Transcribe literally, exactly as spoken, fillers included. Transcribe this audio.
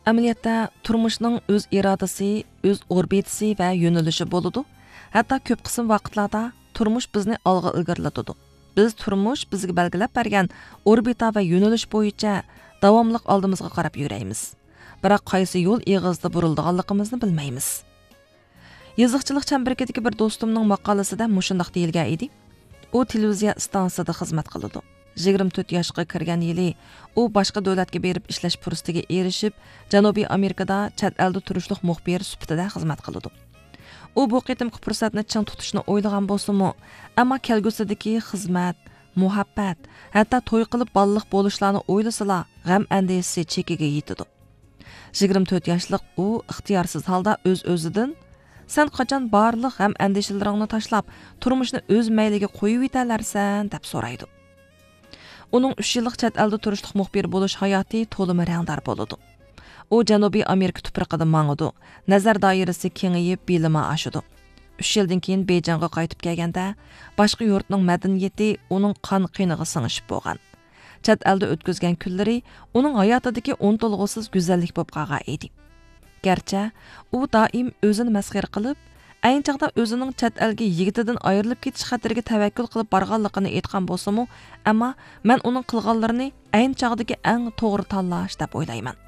ئەمەلىيەتتە، تۇرمۇشنىڭ ئۆز ئىرادىسى، ئۆز ئوربىتىسى ۋە يۆنىلىشى بولىدۇ. ھەتتا كۆپ قىسىم ۋاقىتلاردا تۇرمۇش بىزنى ئالغا ئىلگىرىلىتىدۇ. بىز تۇرمۇش بىزگە بەلگىلەپ بەرگەن ئوربىتا ۋە يۆنىلىش بويىچە داۋاملىق ئالدىمىزغا قاراپ يۈرەيمىز. بىراق قايسى يول ئېغىزىدا بۇرۇلىدىغانلىقىمىزنى بىلمەيمىز. يېزىقچىلىق چەمبىرىكىدىكى بىر دوستۇمنىڭ ماقالىسىدە مۇشۇنداق دېيىلگەن ئىدى. ئۇ تېلېۋىزىيە ئىستانسىسىدا خىزمەت قىلىدۇ. يىگىرمە تۆت ياشقا كىرگەن يىلى ئۇ باشقا دۆلەتكە بېرىپ ئىشلەش پۇرسىتىگە ئېرىشىپ، جەنۇبىي ئامېرىكىدا چەت ئەلدە تۇرۇشلۇق مۇخبىر سۈپىتىدە خىزمەت قىلىدۇ. ئۇ بۇ قېتىمقى پۇرسەتنى چىڭ تۇتۇشنى ئويلىغان بولسىمۇ، ئەمما كەلگۈسىدىكى خىزمەت، مۇھەببەت، ھەتتا توي قىلىپ بالىلىق بولۇشلارنى ئويلىسىلا، غەم ئەندىشىسى چېكىگە يېتىدۇ. يىگىرمە تۆت ياشلىق ئۇ ئىختىيارسىز ھالدا ئۆز-ئۆزىدىن، «سەن قاچان بارلىق غەم ئەندىشىلىرىڭنى تاشلاپ، تۇرمۇشنى ئۆز مەيلىگە قويۇۋېتەلەرسەن؟» دەپ سورايدۇ. ئۇنىڭ ئۈچ يىللىق چەت ئەلدە تۇرۇشلۇق مۇخبىر بولۇش ھاياتى تولىمۇ رەڭدار بولىدۇ. ئۇ جەنۇبىي ئامېرىكا تۇپرىقىدا ماڭىدۇ، نەزەر دائىرىسى كېڭىيىپ، بىلىمى ئاشىدۇ. ئۈچ يىلدىن كېيىن بېيجىڭغا قايتىپ كەلگەندە، باشقا يۇرتنىڭ مەدەنىيىتى ئۇنىڭ قان قېنىغا سىڭىشىپ بولغان. چەت ئەلدە ئۆتكۈزگەن كۈنلىرى ئۇنىڭ ھاياتىدىكى ئۇنتۇلغۇسىز گۈزەللىك بولۇپ قالغان ئىدى. گەرچە ئۇ دائىم ئۆزىنى مەسخىرە قىلىپ، ئەينى چاغدا ئۆزىنىڭ چەت ئەلگە يىگىتىدىن ئايرىلىپ كېتىش خەتىرىگە تەۋەككۈل قىلىپ بارغانلىقىنى ئېيتقان بولسىمۇ، ئەمما مەن ئۇنىڭ قىلغانلىرىنى ئەينى چاغدىكى ئەڭ توغرا تاللاش دەپ ئويلايمەن.